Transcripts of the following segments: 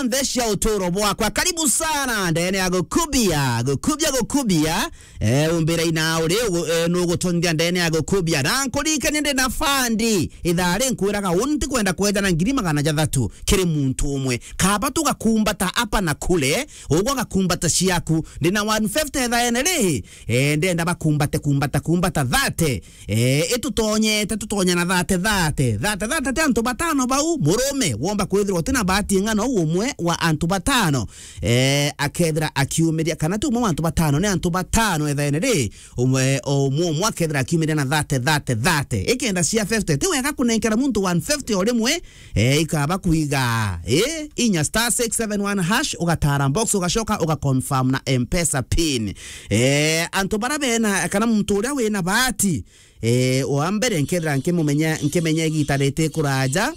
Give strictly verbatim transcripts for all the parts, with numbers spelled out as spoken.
nthe cia uturo bwakwa. Karibu sana ndene ya gukubia, gukubia, gukubia. Eh, umbira ina uri ugu-, eh, nugutonthia ndene ya gukubia. Na nkuririkanie ndi na fandi. Ithaa ri nkwiraga uu ntikwenda kwejana ngiri magana jathatu kiri muntu umwe. Kaba tugakumbata apa na kule, ugwe agakumbata ciaku. Ndi na one fifty ithaene ri, eh, ndenda bakumbate, kumbata, kumbata thate. Eh, itutonyete, tutonya na thate, thate. Thate, thate ti antu batano bau, murume, womba kwithirwa utina bahati ing'ana uu umwe wa antu batano. Eh, akethira akiumiria, kana ti umwe wa antu batano, ni antu batano ethaene ri, umwe, o umwe, umwe akethira akiumiria na thate, thate, thate. Ikenda cia fifty, ti wega kunenkera muntu one fifty o rimwe, eh, ikaba kuiga, eh, inya star six seven one hash, ugatara box, ugacoka, ugaconfirm na M-Pesa pin. Eh, antu bara bena, kana muntu uria wina bahati, eh, wa mbere nkethira nkimumenya, nkimenya igita riti kuraja,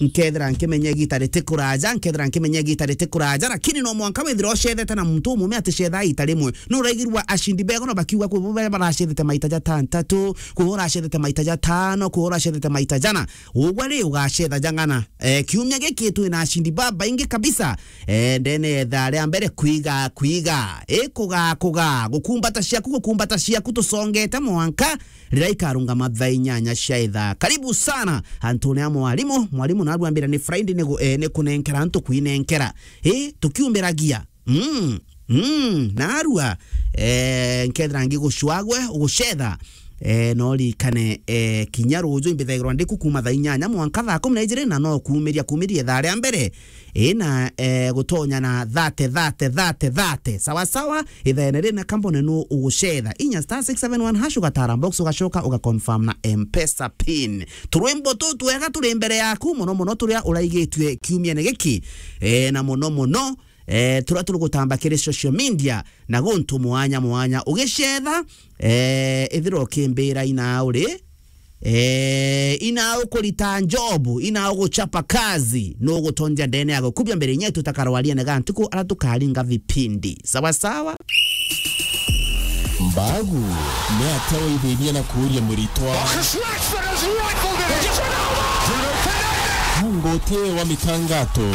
nkethira nkimenya igita riti kuraja, nkethira nkimenya igita riti kuraja, lakini no mwanka withira ucethete na muntu umume ati cetha ita rimwe. No uraigirwa ashindi bego no bakiuga kwi bo baria baracethete maita jatantatu, kwi bo uracethete maita jatano, kwi bo uracethete maita jana. Ugwe ri ugacetha jang'ana. Eh, kiumia giki twina ashindi babaingi kabisa. Eh, ndene etha ria mbere kwiga, kwiga. Eh, kuga, kuga. Gukumbata ciaku, gukumbata ciaku tucongete mwanka riria ikarungama thaa inyanya cia ithaa. Karibu sana antune a mwarimu. Mwarimu narua ambira ni Friday ni gu-, eh, ni kunenkera antu kwinenkera. Eh, tukiumiragia. Mm, mm, narua, eh, nkethira ngigucwagwe, ugucetha. Eh, no ririkane, eh, kinya ruju imbithagirwa ndiku kuma thaa inyanya mwanka thaa kumi na ijiri, na no kuumiria, kuumiria ithaa ria mbere. Ina, eh, gutonya na thate, thate, thate, thate. Sawa, sawa, ithaene rina kambone nu ugucetha. Inya star six seven one hash ugatara box, ugacoka, ugaconfirm na M-Pesa pin. Turwimbo tu twega turi mbere yaku, muno muno turia uraigitue kiumiene giki. Eh, na muno muno, eh, turia turi gutamba kiri social media na guntu mwanya mwanya. Ugicetha, eh, ithira ukimbira ina uri, eh, ina ukurita njobu, ina uguchapa kazi, nugutonja ndene ya gukubia mbere inya tutakarawaria nega ntuku ara tukaringa vipindi. Sawa sawa? Mbagu, ni atia waithirie na kuuria muritwa? Marcus Rashford has rifled it in. Bruno Fernandes. Mungu uti wa mitangato.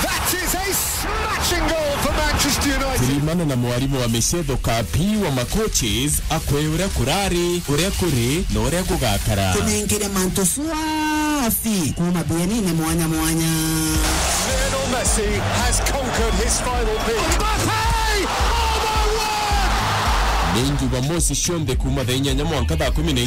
That is a smashing goal for Manchester United. Turimane na mwarimu wa micetho kapi wa macoaches akwe uria kurari, uria kuri, na uria gugakara. Tunengere mantu swafi kuma bienine mwanya mwanya. Lionel Messi has conquered his final peak. Mbappe! Oh my word! Ni Jumamosi cionthe kuma thaa inyanya mwanka thaa kumi na